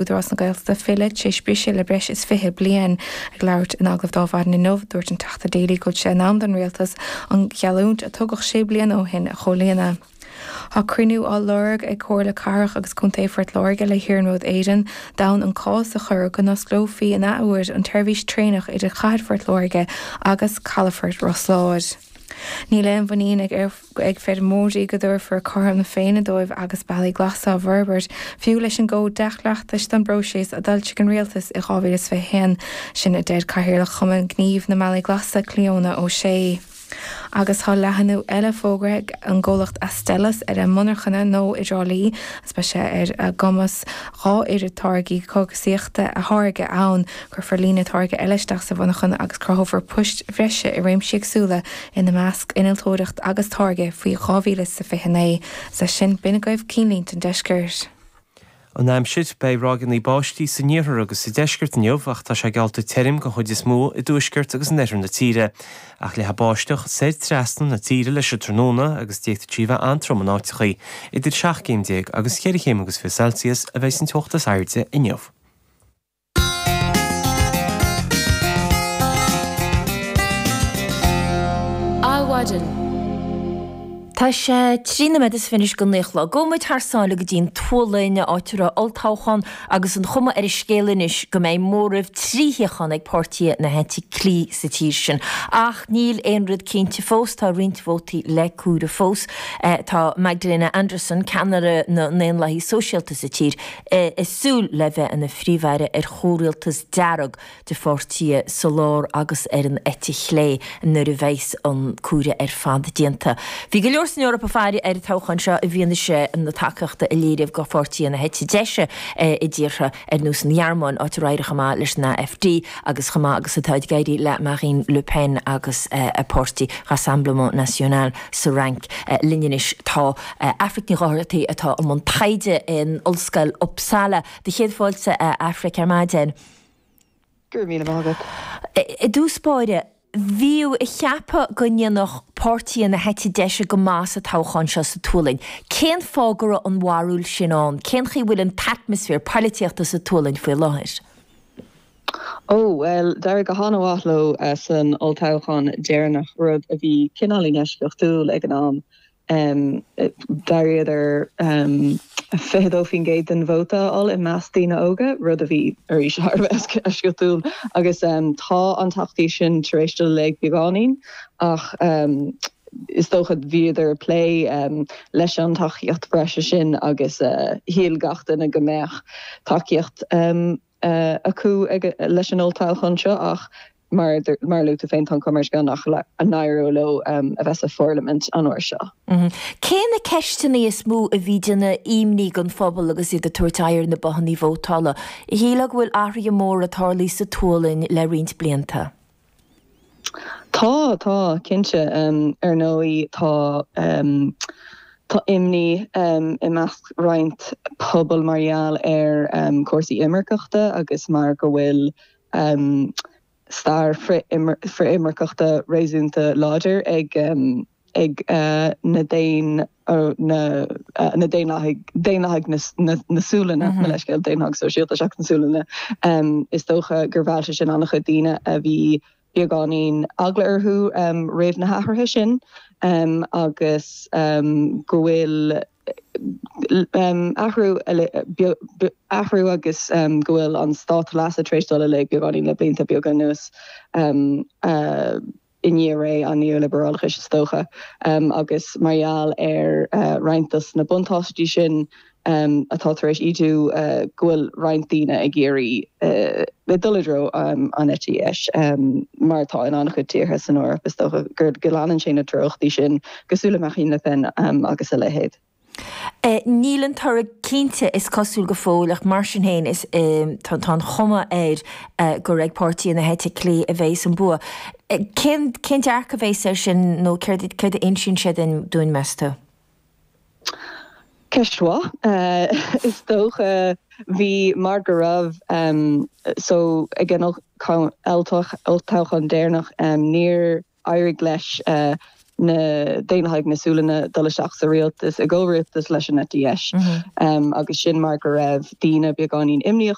Údarás na Gaeltachta filleadh tar éis briseadh le breis is 20 bliain. Ag labhairt in agallamh do Adhmhaidin inniu, dúirt an Teachta Daly go bhfuil sé in am don Rialtas an gheallúint a tugadh sé bliana ó shin a chomhlíonadh. Tá cruinniú á lorg ag Comhairle Cathrach agus Contae Phort Láirge le hIarnród Éireann d'fhonn an cás a chur go n-osclófaí in athuair an tseirbhís traenach idir Chathair Phort Láirge agus Calafort Ros Láir. Níl aon mhuinín ag ag feirmeoirí go dtabharfar cothrom na Féinne dóibh agus bealaí glasa á bhforbairt, fiú leis an gCód Dea-Chleachtais don bpróiseas a d'fhoilsigh an Rialtas i 2021. Sin a deir Cathaoirleach Chumann Gnímh na mBealaí Glasa, Clíona O'Shea. Agus tá leathnú eile fógartha ag an gcomhlacht Astellas ar a monarchana nua i dTrá Lí agus beidh sé ar a gcumas 2 oiread táirgí cógaisíochta a tháirgeadh ann. Cuirfear líne táirge eile isteach sa mhonarchan agus cruthófar poist bhreise i réimsí éagsúla ina measc innealtóireacht agus táirgeadh faoi 2029. Is leis sin, b'in agaibh cinnlínte an deiscirt. An aimsir, Beidh ráigeanna báistí san iarthar agus sa deisceart inniu ach tá sé geallta tirim den chuid is mó i dtuaisceart agus in oirthear na tíre. Ach leathfaidh báisteach soir trasna na tíre leis an tráthnóna agus d'fhéadfadh sí a bheith an-trom in áiteachaí. Idir 17 céim agus 14 chéim agus 20 Celsius a bheidh an teocht is airde inniu. Adhmhaidin. Tá sé 13 nóiméad is 20 go 9 a chlog. Gabhfaidh muid thar sáile go dtí an tSualainn, áit a raibh olltoghchán agus an chuma ar an scéal anois go mbeidh móramh 3 shuíochán ag páirtithe na heite clí sa tír sin. Ach níl aon rud cinnte fós, tá roinnt vótaí le comhaireamh fós. Tá Magdalena Andersson, ceannaire na nDaonlathaí Sóisialta sa tír, ag súil le bheith ina phríomh-aire ar chomhrialtas dearg de pháirtithe sa lár agus ar an eite chlé nuair a bheas an comhaireamh ar fad déanta. Bhí go leor san Eoraip ag faire ar an toghchán seo i bhfianaise na tacaíochta a léiríodh do pháirtithe na heite deise i dtíortha ar nós an Ghearmáin, áit ar éirigh chomh maith leis an AfD agus chomh maith agus atá ag éirí le Marine Le Pen agus a páirtí Rassemblement National sa Fhrainc. Linn anois tá Aifric Ní Dhochartaigh atá i mbun taighde in Ollscoil Uppsala. Do chéad fáilte a Aifric ar maidin. Go raibh míle maith agat. I dtús báire, bhíodh ag ceapadh go ndéanfadh páirtithe na heite deise go maith sa toghchán seo sa tSualainn. Cén fáth go raibh an bharúil sin ann? Cén chaoi a bhfuil an t-atmaisféar poilitíochta sa tSualainn faoi láthair? Ó, bhuel, d'éirigh go han-mhaith leo san olltoghchán deireanach, rud a bhí cineáilín eisceachtúil ag an am. D'éiríodar 22% den vóta a fháil i measc daoine óga, rud a bhí, arís, thar a bheith eisceachtúil. Agus tá an tacaíocht sin tar éis dul i léig beagáinín, ach is dócha bhíodar ag plé leis an tacaíocht bhreise sin agus shíl gach duine go mbeadh tacaíocht acu leis an olltoghchán seo ach mar a luaigh tú féin, tá an chuma ar an scéal nach n-éireoidh leo a bheith sa pharlaimint an uair seo. Cé na ceisteanna is mó a bhí ag déanamh imní don phobal agus iad ag tabhairt aghaidh ar na bothanna vótála? Shílfeá go bhfuil athruithe móra tarlaithe sa tSualainn le roinnt blianta. Tá, tá, cinnte. Ar ndóigh tá, tá imní i measc roinnt pobal mar gheall ar chúrsaí imirceachta agus mar go bhfuil stair frith-imirceachta réasúnta láidir ag ag na daon na na Daonlathaigh Daonlathaigh na na Sualainne, mo leithscéal, Daonlathaigh Sóisialta seachas na Sualainne. Is dócha gur mheall sé sin an-chuid daoine a bhí beagáinín eagla orthu roimh na hathruithe sin agus go bhfuil athrú athrú agus go bhfuil an stát leasa tar éis dul i léig beagáinín le blianta beaga anuas. i ndiaidh ré an neo-liobrálachais is dócha, agus mar gheall ar roinnt dos na buntáistí sin atá tar éis ídiú, go bhfuil roinnt daoine ag iarraidh dul i dtreo an eite dheis, mar atá in an-chuid tíortha san Eoraip, is dócha go leanann sé na treochtaí sin, cosúil le Marine Le Pen agus a leithéid. Níl an toradh cinnte, is cosúil, go fóill ach mar sin féin is tá an chuma air gur ag páirtí na heite clé a bheas an bua. Cén cén dearcadh a bheas air sin nó céard céard a insíonn sé dúinn, meas tú? Ceist mhaith. Is dócha bhí mar go raibh so ag an olltoghchán deireanach níor éirigh leis. Na Daonlathaigh na Sualainne dul isteach sa rialtas, i gcomhrialtas leis an eite dheis, agus sin mar go raibh daoine beagáinín imníoch.